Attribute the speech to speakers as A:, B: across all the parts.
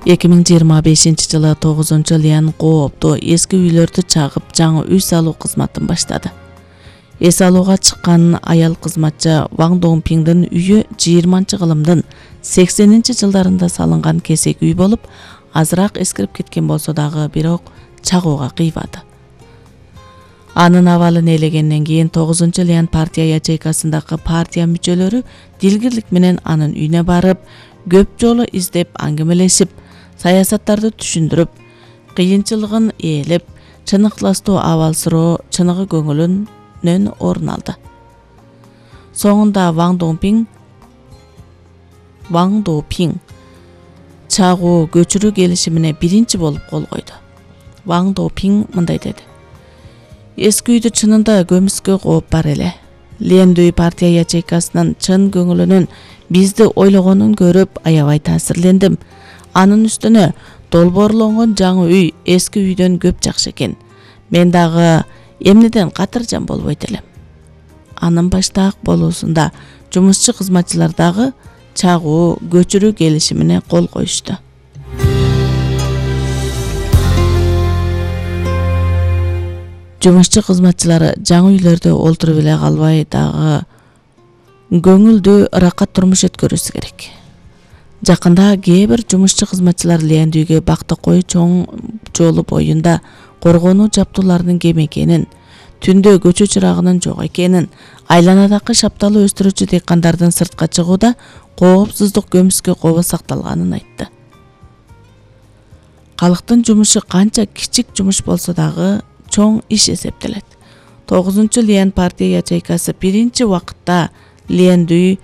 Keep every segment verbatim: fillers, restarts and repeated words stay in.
A: эки миң жыйырма бешинчи жылы тогузунчу Лиан коопту эски үйлөрдү чагып, жаңы үй салуу кызматын баштады. Эс алууга чыккан аял кызматчы Ваң Доңпиңдин үйү жыйырманчы кылымдын сексенинчи жылдарында салынган кесек үй болуп, азыраак эскирип кеткен болсо дагы, бирок чагууга кыйбады. Анын абалын ээлегенден кийин тогузунчу Лиан партия ячейкасындагы партия мүчөлөрү дилгирлик менен анын үйүнө барып, көп жолу издеп аңгемелешип, саясаттарды түшүндүрүп, кыйынчылыгын ээлеп, чыныктастуу абал суроо чыныгы көңүлүнөн орун алды. Соңунда Ваң Доңпиң Ваң Доңпиң чагуу көчүрүү келишимине биринчи болуп кол койду. Ваң Доңпиң мындай деди: Эски үйдү чынында көмүскө кооп бар эле. Лиендүй партия ячейкасынын чын көңүлүнүн бизди ойлогонун көрүп аябай таасирлендим. Анын үстүнө долбоорлонгон жаңы үй эски үйдөн көп жакшы экен. Мен дагы эмнеден катыржан болбойт элем. Анын баштаак болуусунда жумушчу кызматчылар дагы чагуу көчүрүү келишимине кол коюшту. Жумушчу кызматчылары жаңы үйлөрдө олтуруп эле калбай, дагы көңүлдүү, ыракат турмуш өткөрүшү керек. Жакында кээ бир жумушчу кызматчылар Лиендүйгө Бактыкой чоң жолу боюнда коргонуу жабдууларынын кем экенин, түндө көчө чырагынын жок экенин, айланадагы шапталы өстүрүүчү дыйкандардын сыртка чыгууда коопсуздук көмүскө кобо сакталганын айтты. Калктын жумушу канча кичик жумуш болсо дагы чоң иш эсептелет. тогузунчу Лиан партия ячейкасы биринчи убакытта Лиендүй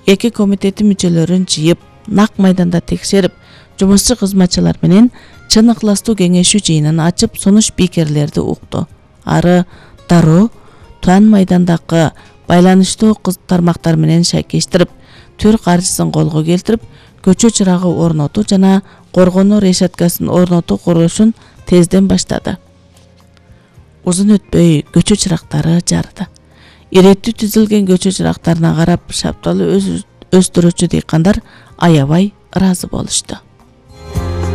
A: эки комитети мүчөлөрүн жыйып, нак майданда текшерип, жумушчу кызматчылар менен чын ыкластуу кеңешүү жыйынын ачып, сунуш спикерлерди укту. Ары дароо Туан майдандагы байланыштуу тармактар менен шайкештирип, түр каржысын колго келтирип, көчө чырагы орнотуу жана коргонуу решеткасын орнотуу курулушун тезден баштады. Узун өтпөй көчө чырактары жарды. Иреттүү түзүлгөн көчө чырактарына карап, шапталы өстүрүүчү дыйкандар аябай ыраазы болушту.